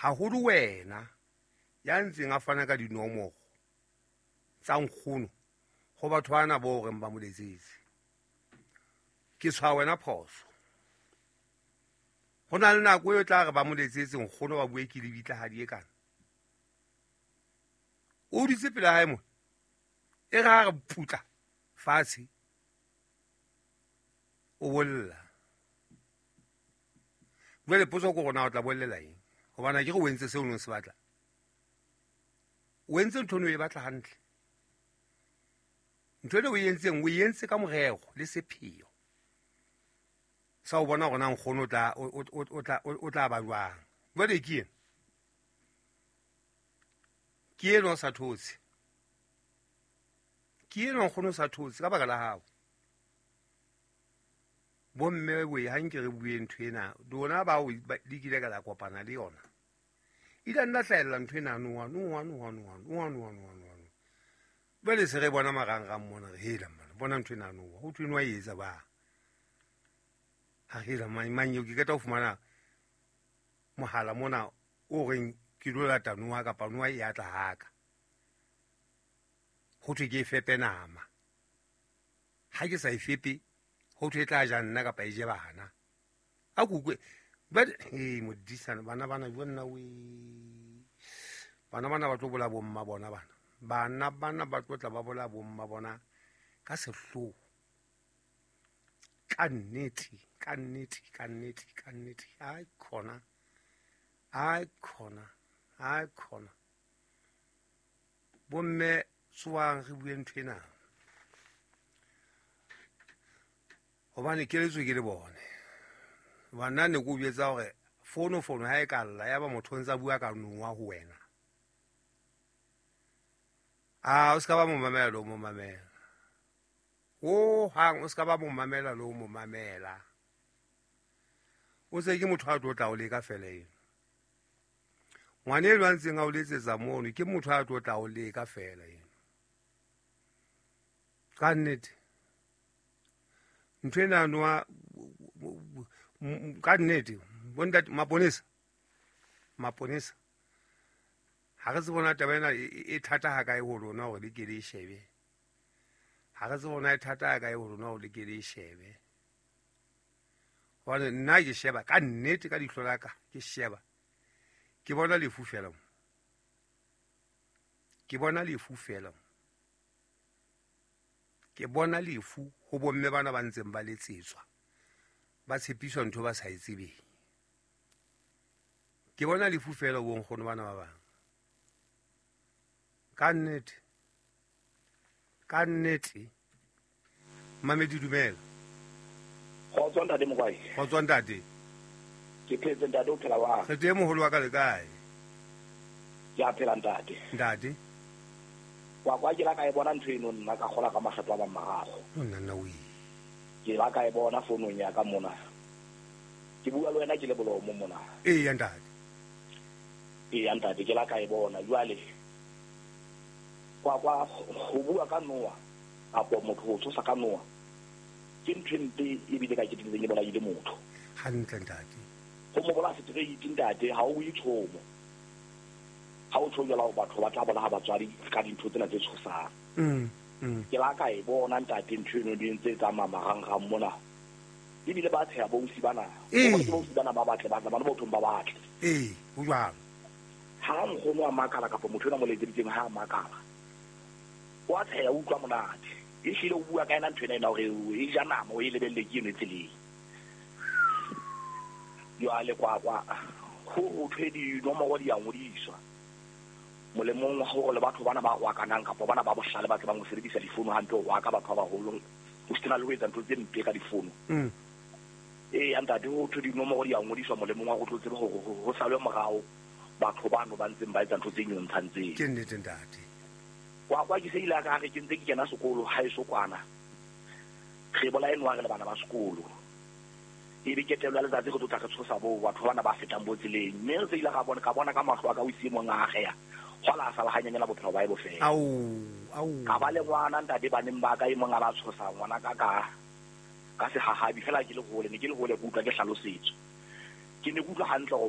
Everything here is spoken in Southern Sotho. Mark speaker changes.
Speaker 1: Haholo wena ya ntseng a fana ka dinomoro tsa nkgono ho batho bana bo reng ba mo letsetse. Ke tshwaya wena phoso. Ho na le nako eo tla re ba mo letsetse nkgono ba bue ke lebitla ha di e kana. O dutse pela hae mona. E re ha re putla fatshe o bolla. Jwale potso ke rona o tla bollela eng? Hobane ke re o entse seo o neng se batla. O entse ntho eno e batla hantle. Ntho eno o e entseng o e entse ka morero le sepheo sa o bona hore na nkgono o tla ba jwang. Jwale ke ena. Ke ena o sa thotse. Ke ena nkgono o sa thotse ka baka la hao. Bomme we ha nke re bue ntho ena lona bao le kile ka la kopana le yona. Ile nna hlahella ntho ena noa noa noa noa noa noa noa noa. Jwale se re bona marangrang mona re hela mona bona ntho ena noa ho thwe noa e etsa ba. Ha hela mang mang eo ke qeta ho fumana mohala mona o reng ke lo lata noa kapa noa e atla haka. Ho thwe ke e fepe nama. Ha ke sa e fepe ho thwe e tla ja nna kapa e je bana. A kukwe but hey modisana bana bana jo nna we. Bana bana ba tlo bola bomma bona bana. Bana bana ba tlo tla ba bola bomma bona ka sehloho. Ka nnete, ka nnete, ka nnete, ka nnete. Ai khona. Ai khona. Ai khona. Bomme tsoang re bue ntho ena. Hobane keletso ke le bone. Bana ne ko jwetsa hore fono fono ha e ka lla ya ba motho o ntsa bua ka noa ho wena. A o ska ba mo mamela le o mo mamela. Ho hang o ska ba mo mamela le o mo mamela. O se ke motho a tlo tla o leka fela eno. Ngwana eno a ntseng a o letsetsa mono ke motho a tlo tla o leka fela eno. Ka nnete. Ntho ena noa ka nnete bontate maponesa. Maponesa. Ha re tsebe bona taba ena e thata ha kae ho lona hore le ke le e shebe. Ha re tsebe bona e thata ha kae ho lona hore le ke le e shebe. Hobane nna ke sheba ka nnete ka leihlo la ka ke sheba. Ke bona lefu fela mo. Ke bona lefu fela mo. Ke bona lefu ho bomme bana ba ntseng ba letsetswa. Ba tshepiswa ntho ba sa e tsebeng. Ke bona lefu fela bo nkgono bana ba bang. Ka nnete. Ka nnete. Mamedi dumela.
Speaker 2: Kgotso ntate Mokwai.
Speaker 1: Kgotso ntate.
Speaker 2: Ke phetse ntate o phela wa.
Speaker 1: Re teng moholo wa ka le kae?
Speaker 2: Ke a phela ntate.
Speaker 1: Ntate.
Speaker 2: Kwa kwa ke la ka e bona ntho eno nna ka kgola ka makgetlo a mang mararo.
Speaker 1: Nna nna we.
Speaker 2: Ke la ka e bona founong ya ka mona. Ke bua le wena ke le Bolomo mona.
Speaker 1: Eya ntate.
Speaker 2: Eya ntate ke la ka e bona jwale. Kwa kwa ho bua ka noa kapo motho ho tshosa ka noa ke ntho e mpe ebile ka keteletseng e bolaile motho.
Speaker 1: Hantle ntate.
Speaker 2: Ho mo bolaya straight ntate ha o bue tshomo. Ha o tjho jwalo batho ba tla bolaya batswadi ka dintho tsena tse tshosang. Ke la ka e bona ntate ntho eno di ntse tsamaya marangrang mona. Ebile ba tsheha bousi bana. Ke bousi bana ba batle ba bana bothong ba batle.
Speaker 1: Ee, ho jwalo.
Speaker 2: Ha nkgono a makala kapa motho ena mo letseditseng ha a makala. O a tsheha utlwa monate. Ehlile o bua ka ena ntho ena ena hore e ja nama o e lebelle ke eno e tseleng. Jwale kwa kwa ho ho thwe dinomoro di a ngodiswa. Molemong wa hore le batho bana ba rwakanang kapa bana ba bohlale ba tsebang ho sebedisa difono hantle ho rwaka batho ba baholo ho sena le ho etsa ntho tse mpe ka difono. Ee ntate ho thwe dinomoro di a ngodiswa molemong wa ho tlo tsebe hore ho salwe morao batho bano ba ntseng ba etsa ntho tse nyontshang tseo.
Speaker 1: Ke nnete ntate.
Speaker 2: Kwa kwa ke se ile ka re ke ntse ke kena sekolo ha eso kwana. Re bolaye noa re le bana ba sekolo. Ebe ketelo ya letsatsi re tlo tla re tshosa bo batho bana ba fetang bo tseleng. Mme re se ile ra bona ka bona ka mahlo a ka o itse mong a ageya. Hwala a sala hanyanyela bophelo ba e bofela.
Speaker 1: Au au.
Speaker 2: Ka ba le ngwana ntate baneng ba ka e mong a ba tshosa ngwana ka ka ka sehahabi fela ke le hole ne ke le hole ke utlwa ke hlalosetswa. Ke ne ke utlwa hantle hore